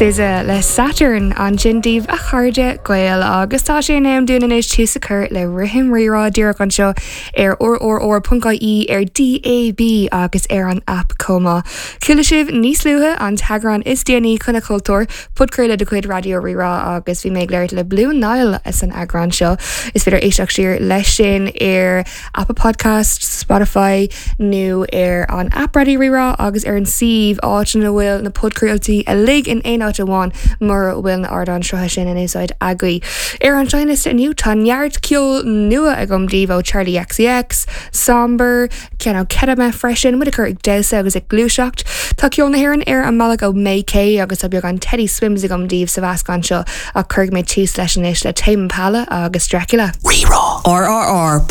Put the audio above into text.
SZA le Saturn ansin daoibh a chairde Gael agus tá sé in am dúinn anois tús a chur le Rithim Rírá díreach anseo ar rrr.ie, ar DAB agus ar an aip chomh maith. Chuala sibh níos luaithe an t-eagrán is déanaí Coinne Chultúir, podchraoladh de chuid Raidió Rí-Rá agus bhí mé ag labhairt le Blue Nile san eagrán seo. Is féidir éisteacht siar leis sin ar Apple Podcasts, Spotify nó ar an aip Raidió Rí-Rá agus ar an suíomh, áit ina bhfuil na podchraoltaí uilig in aon áit amháin mura bhfuil na ardáin srutha sin in úsáid agaibh. Ar an seinnliosta inniu tá neart ceol nua agam daoibh ó Charli XCX, Sombr, ceann ó Ketama freisin, muid a chur ag damhsa agus ag gluaiseacht. Tá ceol na hÉireann ar an mbealach ó May Kay agus tá beagán Teddy Swims agam daoibh sa mheascán seo ach cuirfidh mé tús leis anois le Tame Impala agus Dracula. Rí-Rá. RRR.